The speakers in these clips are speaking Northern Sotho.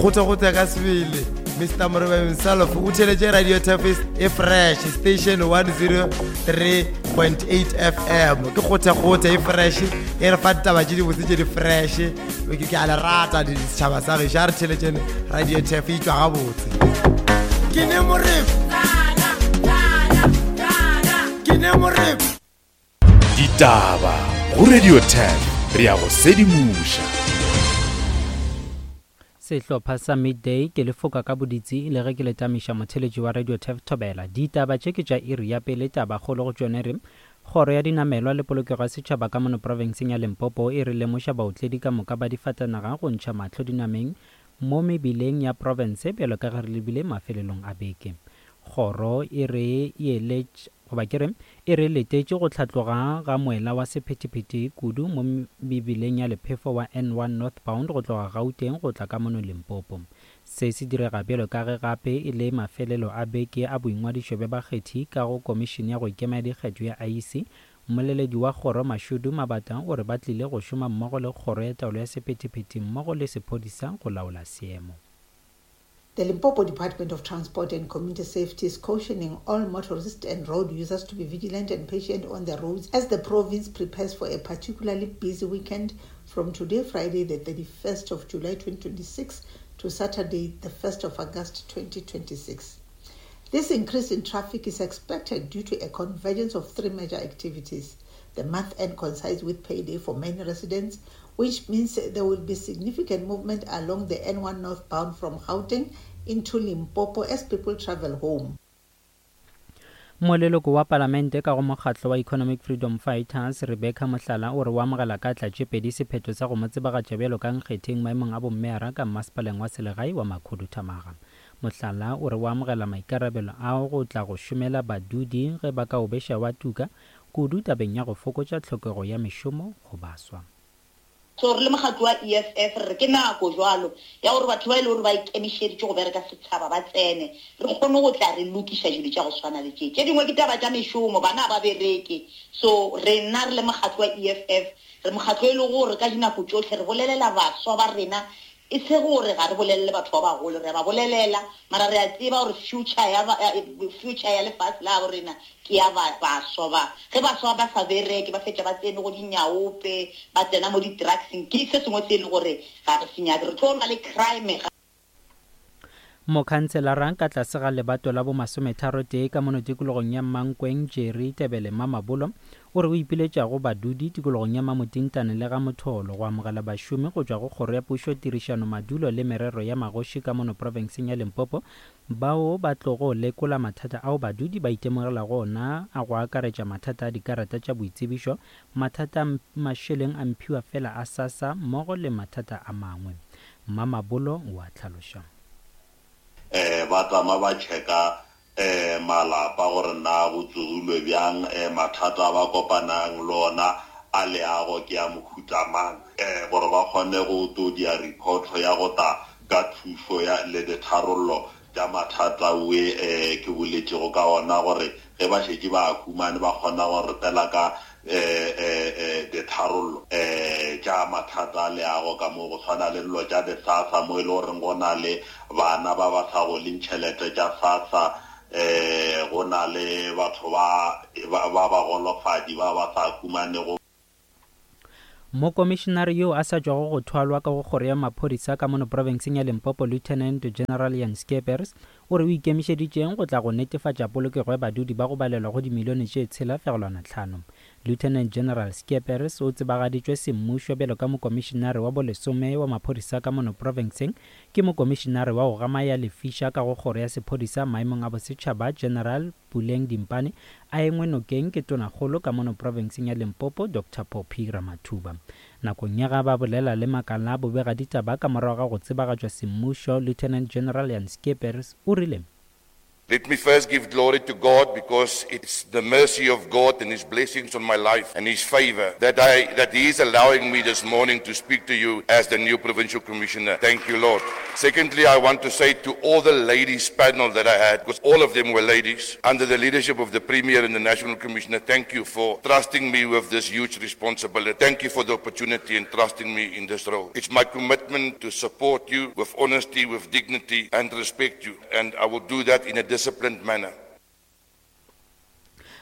kgothakgotha ka sebele Mr Moreba himself o theletše Radio Turf e fresh station 103.8 FM ke kgothakgotha e fresh e re fa ditaba tše dibotse tše di fresh ke a le rata setšhaba sa gešo a re theletšene Radio Turf e tšwa gabotse ke ne moreba ke ne moreba Ditaba go Radio 10 re ya go sedimoša. Sehlopha sa Midday ke le foka ka boditsi le ge ke le tamiša motheletši wa Radio Turf Thobela. Ditaba tše ke tša iri ya pele tabakgolo go tšone re Kgoro ya Dinamelwa le Polokego ya Setšhaba ka mono profenseng ya Limpopo e re lemoša baotledi ka moka ba difatanaga go ntšha mahlo dinameng mo mebileng ya profense bjalo ka ge re lebile mafelelong a beke. Kgoro e re eletša goba ke re e re letetše go hlatloga ga moela wa sephethephethe kudu mo mebileng ya lephefo wa N1 Northbound go tloga Gauteng go tla ka mono Limpopo. Se se direga bjalo ka ge gape e le mafelelo a beke a boingwadišo bja bakgethi ka go Komišene ya go Ikema ya Dikgetho ya IEC. Mmoleledi wa kgoro Mashudu Mabata o re ba tlile go šoma mmogo le Kgoro ya Taolo ya Sephethephethe mmogo le sephodisa go laola seemo. The Limpopo Department of Transport and Community Safety is cautioning all motorists and road users to be vigilant and patient on the roads as the province prepares for a particularly busy weekend from today, Friday, the 31st of July 2026, to Saturday, the 1st of August 2026. This increase in traffic is expected due to a convergence of three major activities. The month end coincides with payday for many residents, which means there will be significant movement along the N1 northbound from Gauteng into Limpopo as people travel home. Moleloko wa Palamente ka go mokgatlo wa Economic Freedom Fighters, Rebecca Mohlala o re o amogela ka tla tše pedi sephetho sa go mo tsebagatša bjalo ka nkgetheng maemong a bommeyara ka mmasepaleng wa selegae wa Makhuduthamaga. Mohlala o re o amogela maikarabelo ao go tla go šomela badudi ge ba ka o beša wa tuka, kudu tabeng ya go fokotša tlhokego ya mešomo go baswa. So re le mokgatlo wa EFF re re ke nako jwalo ya gore batho ba e le gore ba ikemišeditše go bereka setšhaba ba tsene, re kgone go tla re lokiša dilo tša go swana le tše. Tše dingwe ke taba tša mešomo, bana ga ba bereke. So rena re le mokgatlo wa EFF re mokgatlo e lego gore ka dinako tšohle re bolelela baswa ba rena E se gore ga re bolelele batho ba bagolo, re a ba bolelela, mara re a tseba gore future ya, future ya lefase la gabo rena ke ya ba, baswa ba. Ge baswa ba sa bereke, ba fetša ba tsene go dinyaope, ba tsena mo di-drugseng, ke se sengwe se e le gore ga re se nyake. Re tlo lwa le crime. Mokhanselara ka tlase ga lebato la bomasometharotee ka mono tikologong ya Mankweng, Jerry Tebele Mamabolo, o re o ipiletša go badudi tikologong ya Mamotintane le ga Motholo go amogela bašomi go tšwa go Kgoro ya Pušo Tirišano Madulo le Merero ya Magoši ka mono profenseng ya Limpopo bao ba tlogo lekola mathata ao badudi ba itemogelago ona a go akaretša mathata a dikarata tša boitsebišo, mathata a mašeleng a mphiwa fela a SASSA mmogo le mathata a mangwe. Mmamabolo o a hlaloša. Eh, ba tama ba checka eh malapa gore na go tsogilwe bjang, eh mathata a ba kopanang le ona a leago ke a mohuta mang, eh gore ba kgone go to dia report ya go ta ka thušo ya le ditharollo tša mathata we eh ke boletšego ka ona gore ge ba šetše ba a humane ba kgona go re tela ka eh, eh, eh, ditharollo eh, tša mathata a leago ka mo go swana le dilo tša di-SASSA mo e le goreng go na le bana ba ba sa goleng tšhelete tša SASSA eh, go na le batho ba ba bagolofadi ba ba sa humanego. Mokomišenare yo a sa tšwago go thwalwa ka go Kgoro ya Maphodisa ka mono profenseng ya Limpopo Lieutenant General Jan Scheepers o re o ikemišeditše go tla go netefatša polokego ya badudi ba go balelwa go dimilione tše tshela fegelwana tlhano. Lieutenant General Scheepers o tsebagaditšwe semmušo bjalo ka mokomišenare wa bolesome wa maphodisa ka mono profenseng ke mokomišenare wa go gama ya lefiša ka go Kgoro ya Sephodisa maemong a bosetšhaba General Puleng Dimpane a engwe nokeng ke Tonakgolo ka mono profenseng ya Limpopo Doctor Phophi Ramathuba. Nakong ya ga ba bolela le makala a bobegaditaba ka morago ga go tsebagatšwa semmušo, Lieutenant General Jan Scheepers o rile. Let me first give glory to God because it's the mercy of God and His blessings on my life and His favor that I that He is allowing me this morning to speak to you as the new provincial commissioner. Thank you, Lord. Secondly, I want to say to all the ladies panel that I had, because all of them were ladies, under the leadership of the Premier and the National Commissioner, thank you for trusting me with this huge responsibility. Thank you for the opportunity and trusting me in this role. It's my commitment to support you with honesty, with dignity, and respect you. And I will do that in a disciplined manner.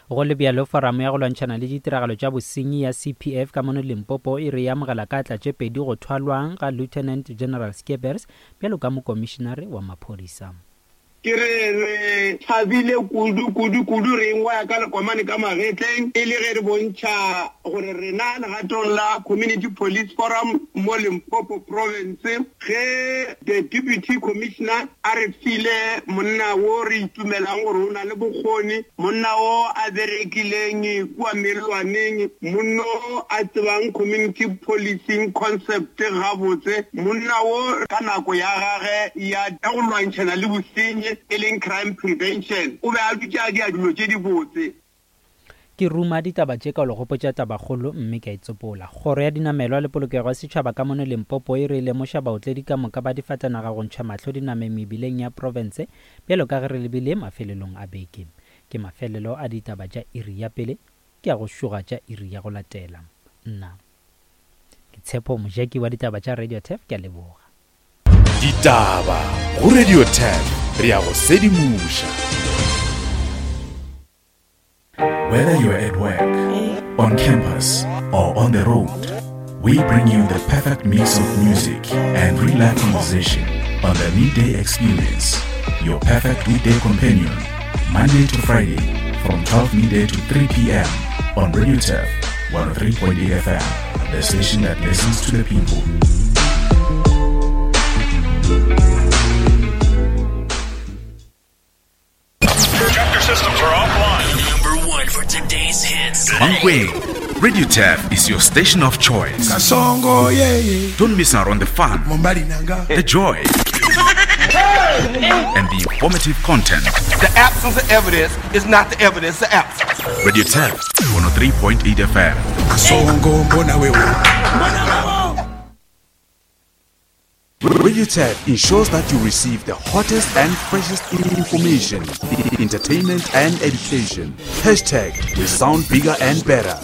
Go le bjalo, Foramo ya go Lwantšhana le Ditiragalo tša Bosenyi ya CPF ka mono Limpopo e re e amogela ka atla tše pedi go thwalwang ga Lieutenant General Skeepers bjalo ka Mokomišenare wa Maphodisa. Ke re re thabile kudu, kudu, kudu, re ingwaya ka lekomane ka magetleng e le ge re bontšha gore rena legatong la Community Police Forum mo Limpopo Province, Ge the Deputy Commissioner a re file monna wo re itumelang gore o na le bokgoni, monna wo a berekileng kua mellwaneng, monna wo a tsebang community policing concept gabotse, monna wo ka nako ya gage ya go lwantšhana le bosenyi e leng crime prevention, o be a dutše a dia dilo tše dibotse. Ke ruma ditaba tše ka go le gopotša tabakgolo mme ke a e tsopola. Kgoro ya Dinamelwa le Polokego ya Setšhaba ka mono Limpopo e re e lemoša baotledi ka moka ba difatanaga go ntšha mahlo dinameng mebileng ya profense bjalo ka ge re lebile mafelelong a beke. Ke mafelelo a ditaba tša iri ya pele, ke a go šoga tša iri ya go latela. Nna ke Tshepo Mojaki wa ditaba tša Radio Turf, ke a leboga. Ditaba go Radio Turf, re a go sedimoša. Whether you're at work, on campus, or on the road, we bring you the perfect mix of music and real life conversation on the Midday Experience, your perfect weekday companion, Monday to Friday from 12 midday to 3 p.m. on Radio Turf 103.8 FM, the station that listens to the people. Chapter systems are offline. Number one for today's hits. Mankweng, Radio Turf is your station of choice. Kasongo, yeah, yeah. Don't miss out on the fun, the joy, and the informative content. The absence of evidence is not the evidence of absence. Radio Turf 103.8 FM. Kasongo, mbona wewe. Radio Turf ensures that you receive the hottest and freshest information, entertainment and education. Hashtag we sound bigger and better.